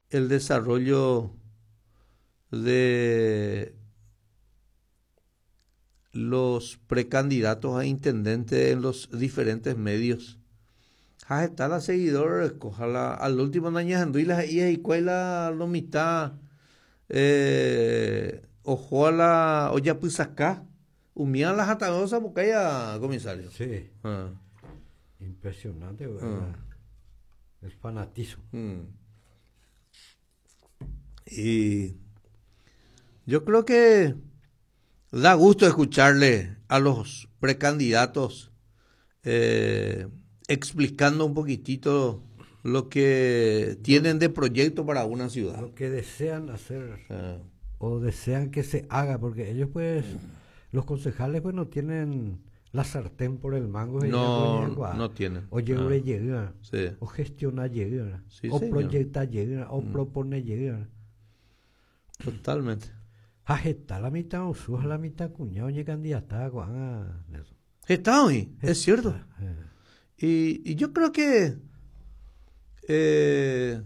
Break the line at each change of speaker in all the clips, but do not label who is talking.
el desarrollo de los precandidatos a intendente en los diferentes medios. Ha heta la seguidor oreko, ha la al último nañahendúi la he'íva hikuái la lo mitã eh, oho la ojapysaka umíva la hatãve osapukáiva comisario.
Sí. Ah. Impresionante, ah. El fanatismo.
Mm. Y yo creo que da gusto escucharle a los precandidatos eh, explicando un poquitito lo que tienen de proyecto para una ciudad.
Lo que desean hacer ah. o desean que se haga, porque ellos pues, los concejales pues no tienen la sartén por el mango.
No, no tienen.
O ah. sí. o gestiona llega, o proyecta llega, o mm. propone llega.
Totalmente.
Ha heta la mitã osu ha la mitã kuña oñekandidata ko'ág̃a
Nelson. Heta oĩ, es cierto. Y, y yo creo que eh,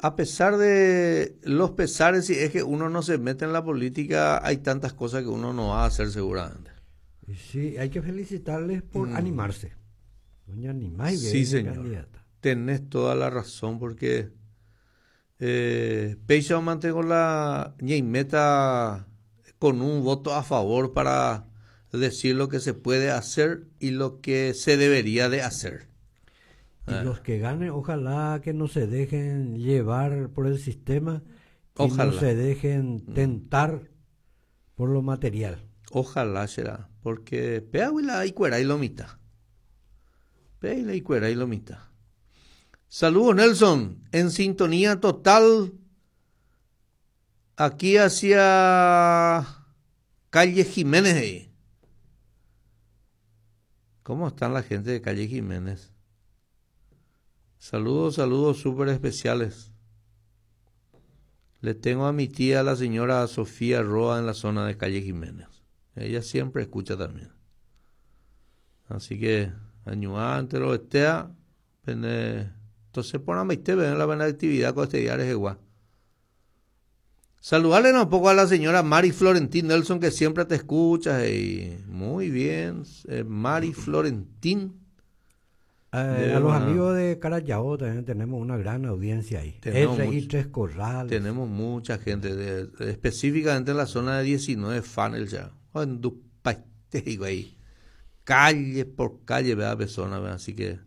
a pesar de los pesares, si es que uno no se mete en la política, hay tantas cosas que uno no va a hacer seguramente.
Y sí, hay que felicitarles por mm. animarse. Doña
animáis, sí, señor. Tenés toda la razón porque eh, péicha mantengo la ñeimeta con un voto a favor para decir lo que se puede hacer y lo que se debería de hacer.
Y ah. los que ganen, ojalá que no se dejen llevar por el sistema y no se dejen mm. tentar por lo material.
Ojalá será, porque péagui la ikuerái lo mitã. Péagui la ikuerái lo mitã. Saludos Nelson, en sintonía total aquí hacia calle Jiménez. Ahí. ¿Cómo están la gente de calle Jiménez? Saludos, saludos súper especiales. Le tengo a mi tía, la señora Sofía Roa, en la zona de calle Jiménez. Ella siempre escucha también. Así que, añuante lo estea, entonces porãmbaite peẽ la buena actividad con este día rehegua. Saludarle un poco a la señora Mari Florentín Nelson, que siempre te escucha. Y muy bien, eh, Mari Florentín.
Eh, a los amigos de Carayao también tenemos una gran audiencia ahí.
Tenemos y Tres Corrales. Tenemos mucha gente, de, específicamente en la zona de 19 Funnel ya. Ahí. Calle por calle, vea persona, vea. Así que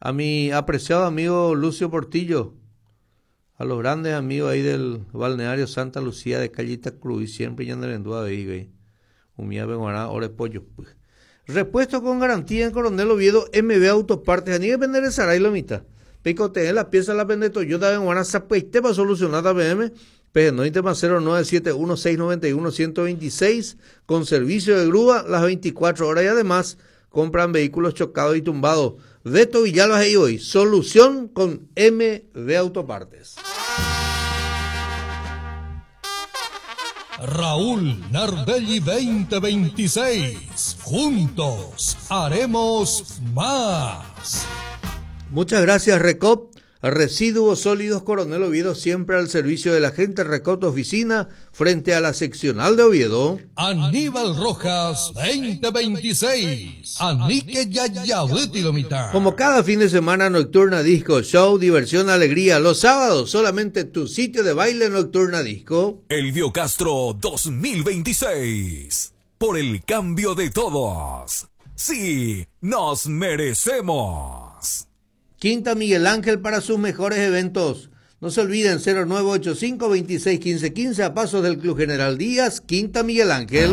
a mi apreciado amigo Lucio Portillo, a los grandes amigos ahí del balneario Santa Lucía de Callita Cruz, y siempre ya en ahí, güey. Umía benguará, ore pollo. Pues. Repuesto con garantía en Coronel Oviedo, MB Autopartes. Ani vender el Saray lo mitad. Picote la pieza la vende Toyota benguará, zapaite para solucionar la BM. P 0971 691 126 con servicio de grúa las 24 horas y además compran vehículos chocados y tumbados. Beto Villalba y hoy, solución con MB Autopartes.
Raúl Nardelli 2026. Juntos haremos más.
Muchas gracias, Recop. Residuos sólidos Coronel Oviedo, siempre al servicio de la gente. Recop Oficina, frente a la seccional de Oviedo.
Aníbal Rojas, 2026. Anique Yayabutilomitad.
Como cada fin de semana, Nocturna Disco Show, diversión, alegría. Los sábados, solamente tu sitio de baile Nocturna Disco.
Elvio Castro 2026. Por el cambio de todos. Sí, nos merecemos.
Quinta Miguel Ángel para sus mejores eventos. No se olviden, 0985 26 15 15 a pasos del Club General Díaz, Quinta Miguel Ángel.